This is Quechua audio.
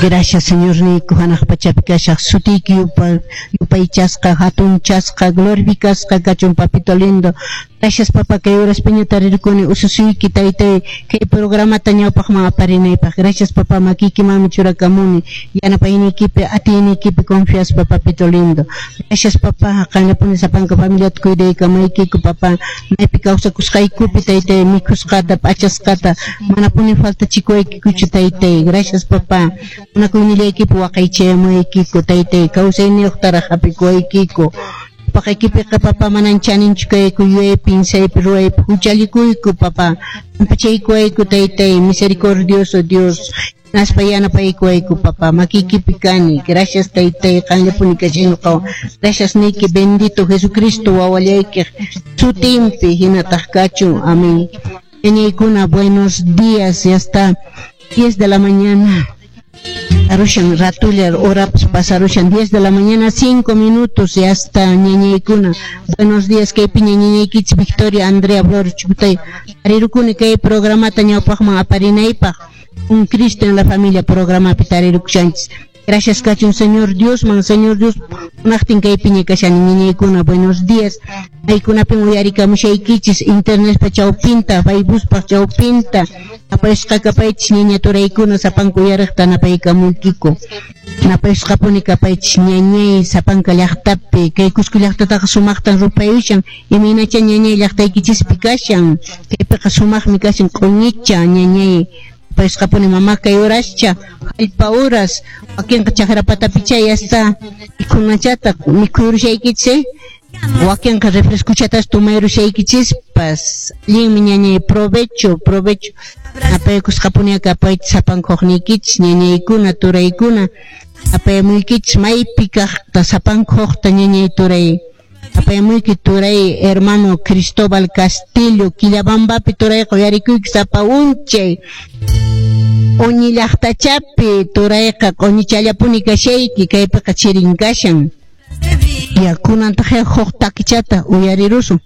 Gracias, Señorniyku, hanaq pachapi kashaq sutiyki yupaychasqa, hatunchasqa, glorificasqa kachun, papito lindo. Gracias, papá, kay horaspiña tarirkuni ususuyki, taytay, kay programata ñawpaqman aparinaypaq. Gracias, papá, makiykimanmi churakamuni, yanapayniykipi, atiyniykipi confiaspa, papito lindo. Gracias, papá, qanllapuni sapanka familiata cuidaykamaykiku, papá, maypi kawsakusqaykupi, taytay, mikhusqata, p'achasqata, manapuni faltachikuwaykikuchu, taytay. Gracias, papá. Munakuynillaykipi waqaychayamuwaykiku, taytay, kawsayniyuqtaraq hap'ikuwaykiku. Paqaykipiqa, papá, manan chaninchu kayku, yuyaypi, pinsaypi, ruwaypi, huchallikuyku, papá. Pampachaykuwayku, taytay, misericordioso Dios. Hinaspa yanapaykuwayku, papá, makiykipi kani. Gracias, taytay, qanllapuni kashay ñuqawan. Gracias niyki, bendito Jesucristo wawallaykiq sutinpi hinataq kachun. Amén. Ñañaykuna, buenos días, ya está 10 de la mañana. Pasarushan ratulla horapas pasarushan 10 de la mañana 5 minutos, ya está, ñañaykuna. Buenos días, kaypi ñañaykichis Victoria Andrea Flores Chucutay. Tarirukuni kay programata ñawpaqman aparinaypaq. Un Cristo en la familia programapi tarirukushanchis. Gracias kachun Señor Diosman, Señor Dios munaqtin kaypiña kashani, ñañaykuna. Buenos días. Maykunapin uyarikamushaykichis internetpa chawpinta, Facebookpa chawpinta. Napayusqa kapaychis ñaña turaykuna, sapanka uyariqta napaykamuykiku. Napayusqapuni kapaychis ñañay sapanka llaqtapi. Kay Cusco llaqtataqa sumaqtan rupayushan. Imaynacha ñañay llaqtaykichispi kashan. Kaypiqa sumaqmi kashan q'uñicha ñañay. Napayusqapuni mama kay horascha, hallpa horas, wakinqa chakra patapicha ya está mikhunachata mikhuyrushaykichis, eh? Wakinqa refrescuchatas tomayrushaykichis,pas allinmi ñañay, provecho, provecho. Napaykusqapuni kapaychis sapanka huqniykichis ñañaykuna, turaykuna. Napayamuykichis maypi kaqta sapanka huqta ñañay turay. Napayamuyki turay hermano Cristóbal Castillo, Quillabambapi turayqa uyarikuyki sapa unchay. Uñi llaqtachapi turayqa q'uñichallapuni kashayki, kaypiqa chirin kashan. Ya kunantaq huk takichata uyarirusun.